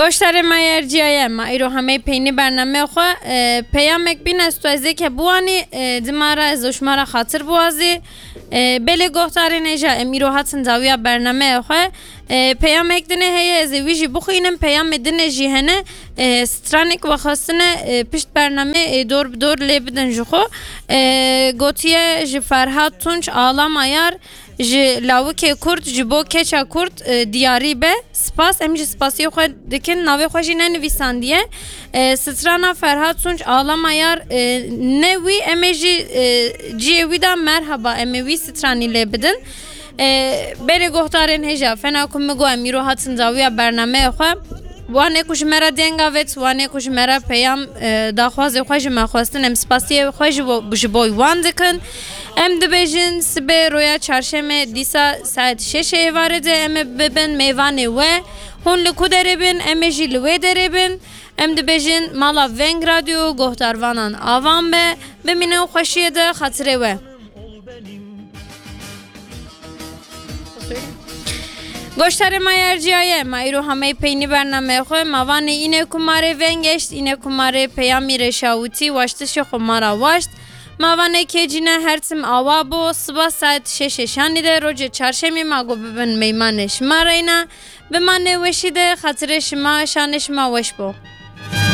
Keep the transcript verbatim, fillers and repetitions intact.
Goştarê me yerciyaye, ma îro hemey peynî bername xwe, e, peyamek bîne ez tu ez ê ke biwanî, e, dima re ez û şima re xatir biwazî. E, belê goxtarên hêja em îro hatin dawiya bernameyê xwe. E, peyamek dinê heye ez ê wî jî bixwînim, peyamê dinê jî hene, e, stranek ve xwestine, e, pişt bername, e, dor bi dor lê bidin ji xwe. E, gotiye ji Ferhat Tunç Ağlama Yar, ji lawikê Kurd, ji bo keça Kurd, e, diyarî be. Spas, em jî spasiyê xwe dikin, navê xwe jî nenivîsandiye. E, strana Ferhat Tunç Ağlama Yar, e, ne wî, em ê jî, e, ciyê wî de merhaba, em ê wî stranî lê bidin. E, berê goxtarên hêja, fena ku min got em îro hatin dawiya bernameyê xwe. Wanê ku ji me re deng avêt, wanê ku ji me re peyam, e, daxwazê xwe ji me xwestin, em spasiyê xwe ji bo, ji bo wan dikin. Em dibêjin sibê roya çarşemê dîsa saet şeşê êvarê de em ê bibin mêvanê we. Hûn li ku derê bin, em ê jî li wê derê bin. Em dibêjin mala Veng Radyo, gohdarvanan avan be, bimînin xweşiyê de xatirê we. Goştarê ma yerciyaye, ma îro hamey peynî bernameyê xwe, ma vanê înê ku ma rê veng eşt, înê ku ma rê peyamî rê şawitî, waştişê xwe ma ra waşt. Ma vanê kê cîne her tim awa bo, siba saet şeşê şanî de rojê çarşemî ma got bibin meymanê şima reyna. Bimanê weşî de xatirê şima, şanê şima weş bo.